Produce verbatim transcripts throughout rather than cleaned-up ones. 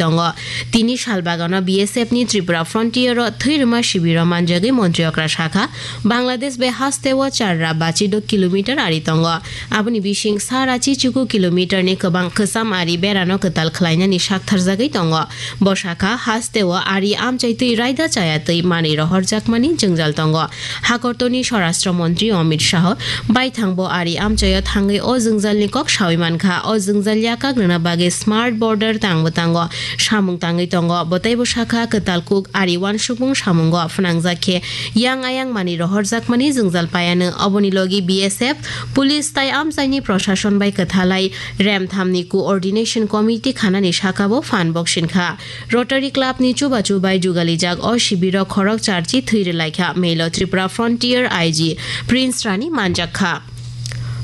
tongo. Tini salbagano B S F ni Tripura Frontier o thwirwma shibiro manjagwi montri okra sakha, Bangladesh bai haste o char ra bachi do kilometer ari tongo. Aboni bising sara chichuku kilometer ni kwbang kwcham ari berano kwtal khlainani sak tharjagwi tongo. Bo sakha, haste o ari amchai twi raida chaya twi manwi rohorjakmani jwngjal tongo. Hakortoni Swarashtra Montri Amit Shah baithang bo ari amchaio thangwi o jwngjalni kok sawi mankha. O jwngjal yakak rwna bagwi smart border tangbo tango, samung tangwi tongo. Bo teibo sakha, kwtal kuk ari uansukmung samungo phnangjak khe yang ayang manwi rohorjakmani jwngjal paiano. Oboni logi B S F, police tai amchaini proshashon bai kwthalai remthamni coordination committee khanani sakabo phan boksinkha. Rotary Club ni chubachu bai jugalijak o shibiro khorok charchi thwi rwlaikha. Melo Tripura Frontier I G Prince Rani manjak kha.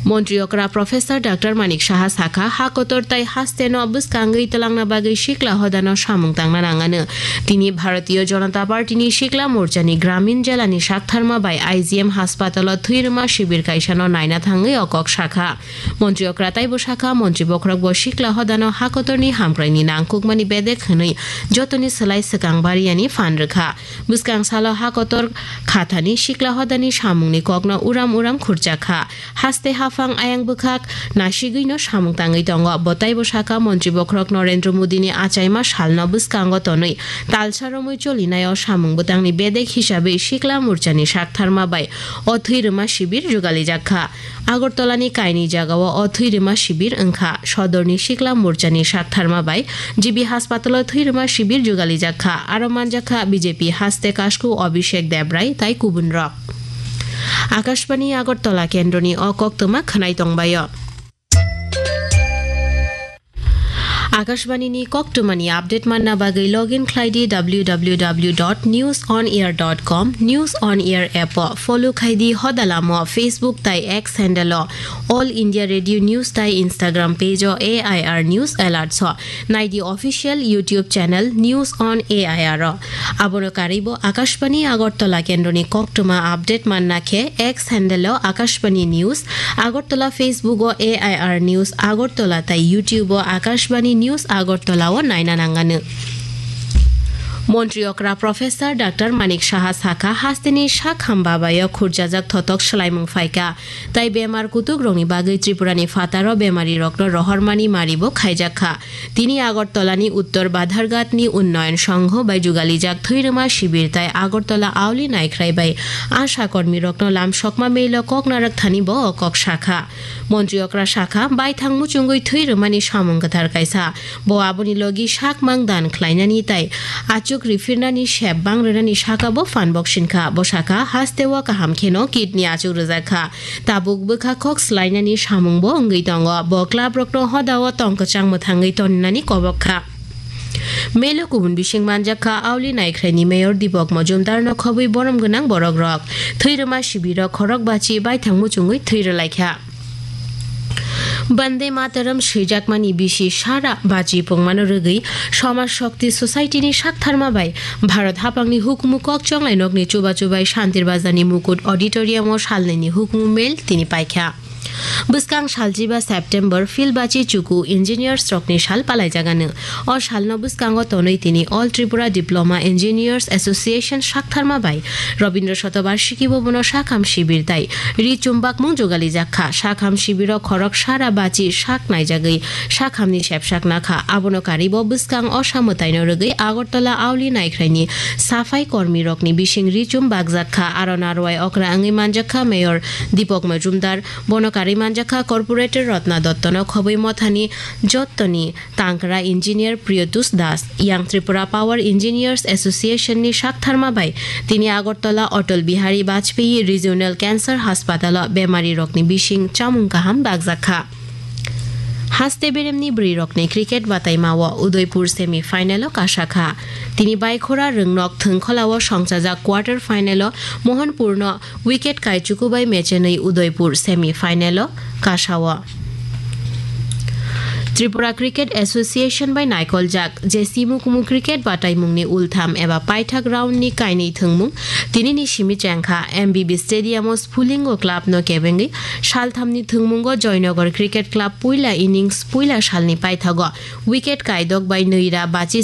Montri okra Professor Doctor Manik Saha sakha, ha kotor tai haste no bwskangwi twlangna bagwi sikla hodano samung tangna nangano. Tini Bharatiya Janata Party ni Sikla Morcha ni Gramin Jela ni saktharma bai I G M haspatalo thwirwma shibir kaisa no naina thangwi o kok sakha. Montri okra taibo sakha, montri bokhorok bo sikla hodano hakotorni hamkraini nangkukmani bedek hwnwi jotoni swlai swkang bariyani phan rwkha. Bwskang salo hakotor khathani sikla hodani samungni kokno uram uram khurchakha. Haste haphang ayang bwkhak nasigwino samung tangwi tongo. Bo taibo sakha, montri bokhorok Narendra Modini achaima salno bwskango tonwi talsa romwi cholinaio samung bwtangni bedek hisabwi sikla morchani saktharma bai o thwirwma shibir jugalijak kha. Agartala ni kainwi jagao o thwirwma shibir wngkha. Sodorni Sikla Morchani saktharma bai G B Haspatalo thwirwma shibir jugalijak kha. Aro manjak kha B J P haste kasku Abhishek Debrai tai kubun rok. Akashbani Agartala kendroni o koktwma khwnai tongbaio. Akashbani ni koktwmani update manna bagwi login khlai di W W W dot news on air dot com, News on Air app o follow khai di, hodalamo Facebook tai X handle o All India Radio News tai Instagram page o A I R News Alerts o nai di official YouTube channel News on A I R o. Abono karwi bo Akashbani Agartala kendroni koktwma update manna khe X handle o Akashbani News Agartala, Facebook o A I R News Agartala tai YouTube o Akashbani News Agartala o naina nangano. Montri okra Professor Doctor Manik Saha sakha, hasteni sak hamba bai o khurjajak thotok swlaimung phaikha, tai bemar kutuk rokni bagwi Tripura ni phataro bemari rokno rohormani mari bo khaijak kha. Tini Agartala ni Uttor Badharghat ni Unnayan Sangho bai jugalijak thwirwma shibir tai Agartala Auli Naikhrai bai asha kormi rokno lamsokma melo kok narak thani bo o kok sakha. Montri okra sakha, baithang muchungwi thwi rwmani samung kwthar kaisa. Bo aboni logi sakmang dan khlainani tai achuk riphirnani sep bang rwnani saka bo phan boksinkha. Bo sakha, hasteo kaham kheno kidney achuk rwjak kha. Tabuk bwkha khok swlainani samung bo wngwi tongo. Bo club rokno hodao tong kwchang mwthangwi toninani kobok kha. Melo kubun bising manjak kha, Auli Naikhraini Mayor Deepak Majumdar no khobwi borom gwnang borok rok. Thwi rwma sibirok khorok bachi baithang muchungwi thwi rwlaikha. Bande Mataram swijakmani bisi sara bachi pungmano rwgwi Samaj Shakti Society ni saktharma bai Bharat haphangni hukumu kok chonglai nokni chubachu bai Shantir Bazar ni Mukut Auditorium o salnwini hukumu mel tini paikha. Bwskang salchiba September Philbachi Chuku Engineers rokni sal palaijagano. O salno bwskango tonwi tini All Tripura Diploma Engineers Association saktharma bai Robindra Shatobarshiki Bhabono sakham sibir tai ri chumbakmung jugalijak kha. Sakham sibiro khorok sara bachi sak naijagwi sakhamni sepsak nakha. Abono karibo bwskang osa mwtaino rwgwi Agartala Auli Naikhraini safai kormi rokni bising ri chumbakjak kha. Aro narwai okra wngwi manjak kha Mayor Deepak Majumdar. Bono karwi manjakha Corporator Ratna Dottono khobwi mothani jottoni tangkra engineer Priyotush Das. Young Tripura Power Engineers Association ni saktharma bai tini Agartala Atal Bihari Vajpayee Regional Cancer Hospital o bemari rokni bising chamung kaham bakjak kha. Haste beremni bwrwi rokni cricket bataima o Udaipur semi final o kasakha. Tini Baikhora Rwngnok Thwngkhola o songchajak quarter final o Mohanpur no wicket kaichuku bai mechenwi Udaipur semi final o kasao. Tripura Cricket Association bai naikoljak J C Mukumu cricket bataimungni ultham eba paithak round ni kainwi thwngmung tinini simi chengkha. M B B Stadium o Sphulingo club no kebengwi salthamni thwngmungo Joynagar Cricket Club puila innings puila salni paithago wicket kaidok bai nwi ra bachi